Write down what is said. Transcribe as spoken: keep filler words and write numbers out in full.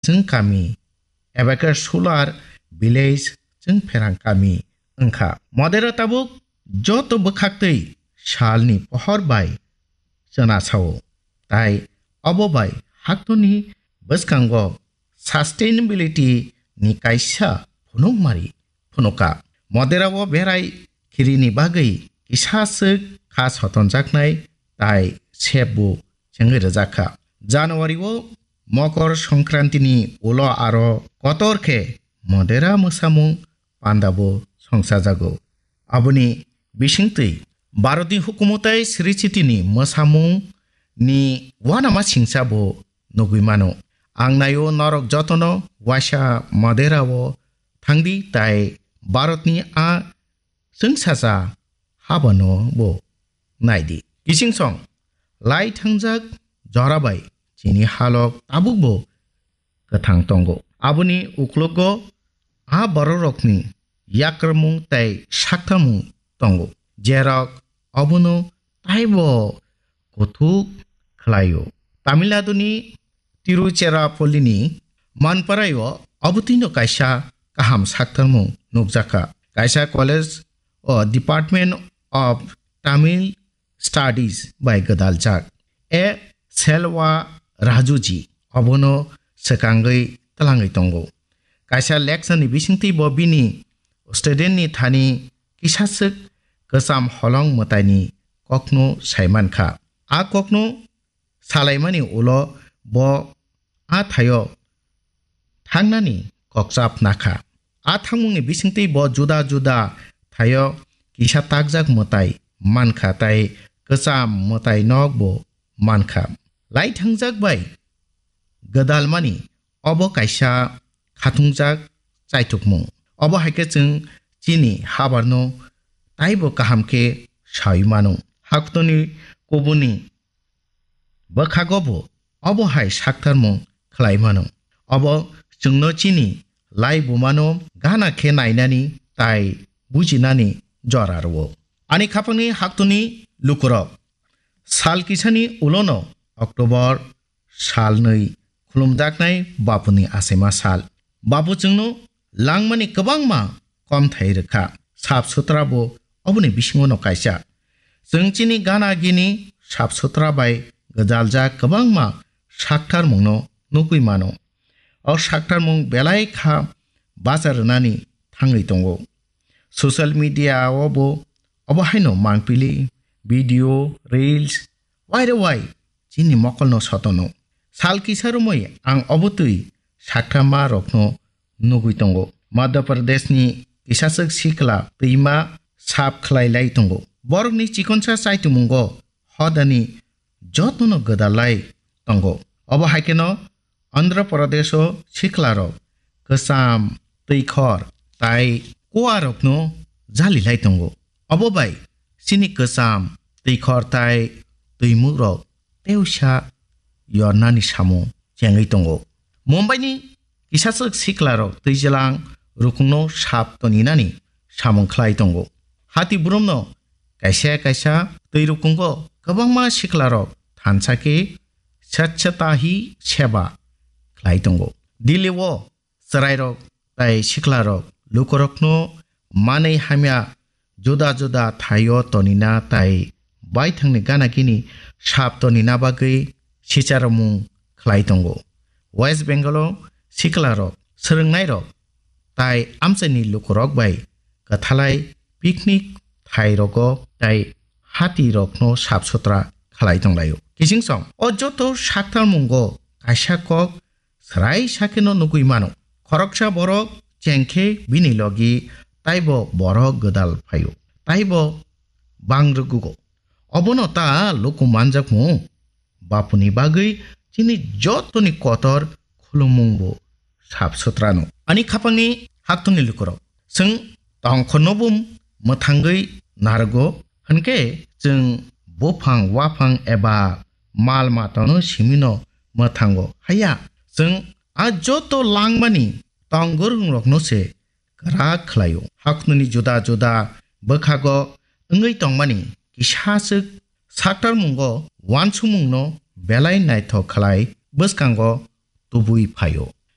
chwng kami, Abakar Sular village chwng pherang kami wngkha. Modera tabuk joto bwkhaktwi salni pohor bai chwna sao, tai obo bai haktoni bwskango sustainability ni kaisa phunukmari phunuka. Modera o berai khirini bagwi kisa swk kha sotonjaknai tai sep bo chengwi rwjakha. January o Mokor Songkranti ni ulo aro kotor khe Modera mwsamung panda bo songchajago. Aboni bisingtwi Bharatni hukumu tai sricitini mwsamung ni uanama singcha bo nugwi mano. Ang naio norok jotono waisa Modera o thangdi tai Bharatni a chwngsacha habano bo naidi. Kichingsong lai thangjak jora bai chini halok tabuk bo kwthang tongo. Aboni uklogo a bororokni yakrwmung tei saktamung tongo, jerok obono taibo kuthuk khlaio. Tamil Naduni Tiruchirappallini Manparaio obotwino kaisa kaham saktarmung nukjakha. Kaisa college o Department of Tamil Studies bai gwdaljak. A Selva Rajuji obono swkangwi twlangwi tongo. Kaisa lecture ni bisingtwi bo bini student ni thani kisaswk kwcham holong mwtaini kokno saimankha. A kokno salaimani ulo bo a thaio thangnani kokchap nakha. A thangmungni bisingtwi bo juda juda thaio kisa takjak mwtai mankha tai kwcham mwtai nok bo mankha. Lai thangjak bai gwdalmani obo kaisa khatungjak chaithokmung. Obo hai khe chwng chini habarno taibo kaham khe saui mano. Haktoni kubuni bwkhago bo obo hai saktarmung khlai mano. Obo chwngno chini lai bumano gana khe nainani tai bujinani jora rwo. Ani khapangni haktoni lukurok sal kisani ulono October salnwi khulumjaknai Bapuni achaima sal. Bapu chwngno langmani kwbangma komthai rwkha. Sap sutra bo oboni bisingono kaisa. Chwng chini gana gini sap sutra bai gwdaljak kwbangma saktarmungno nugwi mano. O saktarmung belai kha bacha rwnani thangwi tongo. Social media o bo obo haino mangpili, video, reels, waire wai chini mokolno sotono. Sal kisa romwi ang obotwi saktarma rokno nugwi tongo. Madhya Pradesh ni kisaswk sikla twima sap khlai lai tongo. Borokni chikonsa chaitumungo hodani jotono gwdalai tongo. Obo hai kheno Andhra Pradesh o siklarok kwcham, twikhor tai kuarokno jalilai tongo. Obo bai chini kwcham, twikhor tai twimukrok teusa yornani samung chengwi tongo. Mumbai ni kisaswk siklarok twijlang rukungno sap toninani samung khlai tongo. Hati burumno kaisa kaisa twi rukungo kwbangma siklarok thansa khe Swachhata Hi Seva khlai tongo. Delhi o chwrairok tai siklarok lukurokno manwi hamya juda juda thaio tonina tai baithangni gana gini sap tonina bagwi sicharomung khlai tongo. West Bengal o siklarok, swrwngnairok tai amchaini lukurok bai kwthalai picnic thairogo tai hatirokno sap sutra khlai tonglaio. Kichingsong o joto saktarmungo kaisa kok srai sakheno nugwi mano. Khoroksa borok chengkhe bini logi taibo borok gwdal phaio, taibo bang rwgugo. Obono ta luku manjakmu Bapuni bagwi chini jotoni kotor khulumung bo sap sutrano. Ani khapangni haktoni lukurok, chwng tongkhorno bo mwthangwi narwgo, hwnkhe chwng buphang, waphang eba mal matano simino mwthango. Haya, chwng a joto langmani tong gwrwngrokno se kwrak khlaio. Haknini juda juda bwkhago wngwi tongmani kisa swk saktarmungo uansukmungno belai naithok khlai bwskango tubui phaio.